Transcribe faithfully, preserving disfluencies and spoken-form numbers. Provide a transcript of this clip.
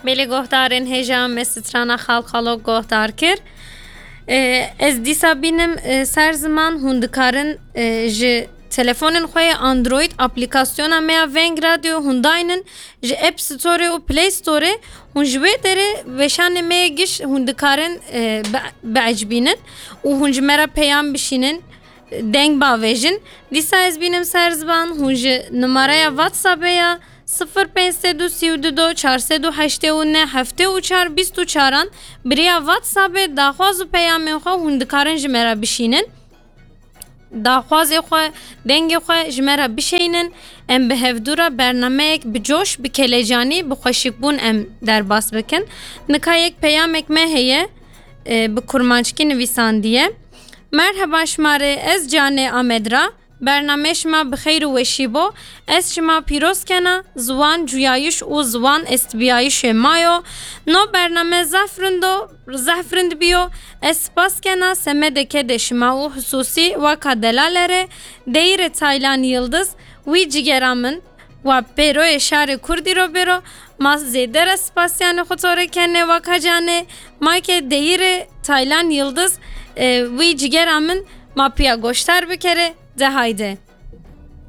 Belê guhdarên hêja me strana Xalqalok guhdar kir. E, ez dîsa bînim, e, ser ziman hûn dikarin, e, ji telefonên xwe yê Android aplîkasyona me ya Veng Radio hûn daynin ji App Store û Play Store hûn ji wê derê weşanê me yê giş hûn dikarin, e, bi, biecibînin û hûn ji me re peyam bişînin, deng bavêjin. Dîsa ez bînim ser ziman hûn ji numareya WhatsAppê ya sifir pênc sed û sî û du çar sed û heştê û neh heftê û çar bîst û çaran bi riya WhatsAppê daxwaz û peyamên xwe hûn dikarin ji me re bişînin. Daxwazê xwe, dengê xwe ji me re bişeynin. Em bi hevdû re bernameyek bi coş, bi kelecanî, bi xweşikbûn em derbas bikin. Nika yek peyamek me heye, e, bi kurmanckî nivîsandiye. Merheba şima rê, ez Canê Amed ra. Bernameyê şima bi xeyr û weşî bo. Ez şima pîroz kena, ziwan cuyayiş û ziwan estbiyayişê ma yo. No bername zehf rind o, zehf rind biyo. Ez spas kena semedê kedê şima û xisûsî weka delale rê, deyîrê Taylan Yildiz, wî cigera min, wa pêroyê şarê Kurdî ro bêro, ma zêde re spasiyanê xwe to rê kenê weka Canê, ma ke deyîrê Taylan Yildiz, e, wî cigera min ma piya goşdar bikerê, de hayde.